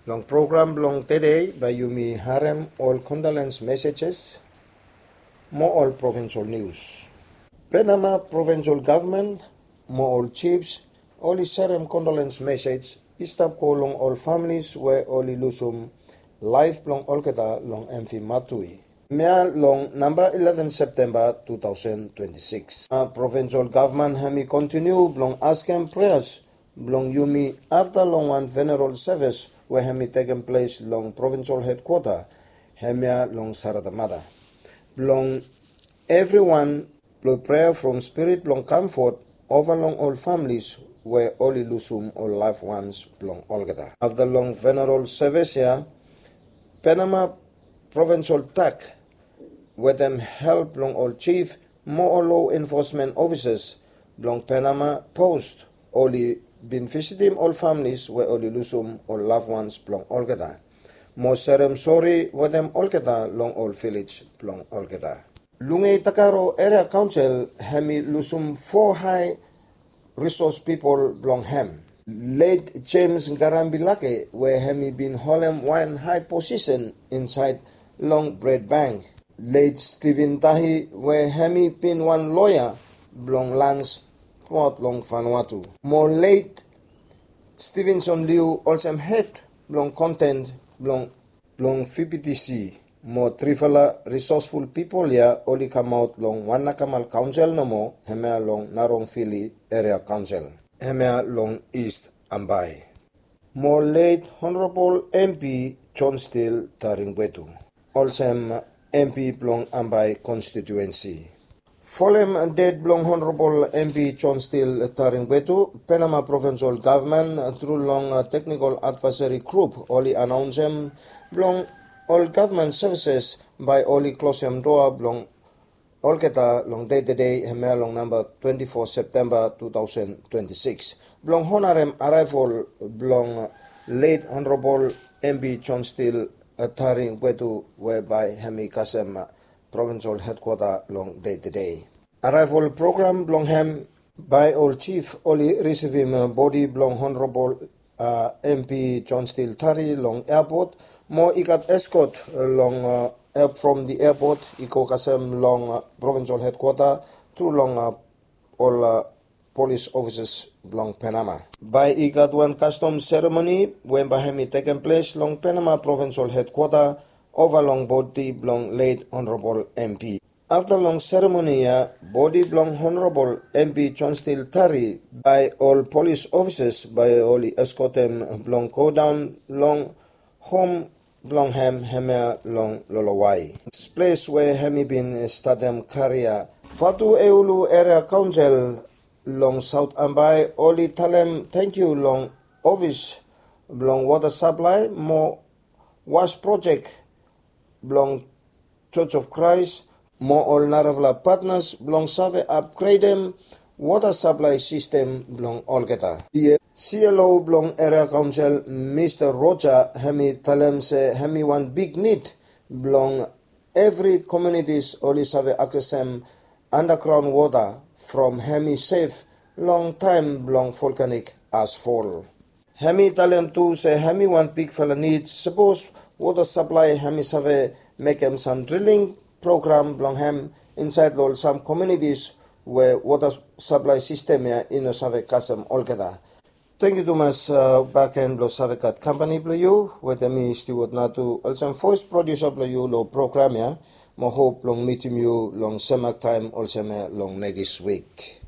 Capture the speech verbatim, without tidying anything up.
Long program blong tede bae yumi harem ol condolence messages mo ol provincial news. Penama provincial government mo ol chiefs oli serem condolence message i stap go long ol families we oli lusum laef blong olgeta long M V Matui. Hemia long namba eleven Septemba two thousand twenty-six. Provincial government hemi kontiniu blong askem preas blong yumi afta long wan funeral service we hemi tekem ples long provincial headquarter hemia long Saratamata. Blong evriwan blong prea from spirit blong comfort ova long ol families we oli lusum ol loved ones blong olgeta. Afta long funeral service ia, Penama provincial tak wetem help blong ol chief mo ol law enforcement officers blong Penama Post oli bin visitim ol families we oli lusum ol loved ones blong olgeta mo serem sori wetem olgeta long ol vilej blong olgeta. Lungei Takaro Area Council hemi lusum fo hae resource pipol blong hem. Late James Garambi Lake we hemi bin holem wan hae posisen insaed long Bred Bank. Late Stephen Tahi we hemi bin wan loea blong lands truaot long Vanuatu. Mo late Stevenson Liu olsem hed blong konten blong blong V P T C. Mo trifala resourceful pipol ia oli kamaot long Wanakamal Kaonsel nomo hemia long Narongfili Area Kaonsel hemia long East Ambae. Mo late Honorable M P John Steele Taringwetu olsem M P blong Ambae konstituensi. Folem ded blong Honorable M P John Steele Taringwetu, Penama Provincial Government tru long Technical Advisory Group oli anaonsem blong ol government services bae oli klosem doa blong olgeta long dei tede hemia long namba twenti fo Septemba tu taosen twenti sikis blong honarem araevol blong late Honorable M P John Steele Taringwetu we bae hemi kasem provincial headquarter long dei tede. Araevol program blong hem bae ol chief oli risivim bodi blong Honorable M P John Steele Tari long airport mo i gat escort long from the airport i go kasem long provincial headquarter tru long ol police officers blong Penama. Bae i gat wan custom ceremony we bae hemi tekem ples long Penama provincial headquarter ova long bodi blong late Honorable M P. Afta long seremoni ia, bodi blong Honorable M P John Steele Tari bae ol police officers bae oli eskotem blong go daon long hom blong hem hemia long Lolowai, ples we hemi bin statem karia. Fatueulu Area Kaonsel long Saot Ambae oli talem tangkiu long ofis blong wota saplae mo was projek blong Church of Christ mo ol narafala patnas blong save apgredem wota saplae sistem blong olgeta. C L O blong Area Kaonsel Mista Roja hemi talem se hemi wan big nid blong evri komunitis oli save aksesem andagraon wota from hemi sef long taem blong volkanik asfol. Hemi talem tu se hemi wan bigfala nid sapos wota saplae hemi save mekem sam driling program blong hem insaed long sam komunitis we wota saplae sistem ia i no save kasem olgeta. Tangkiu tumas baken blong save gat kampani blong yu wetem mi Stewart Natu olsem voes produsa blong yu long program ia. Mo hop blong mitim yu long semak taem olsem ia long nekis wik.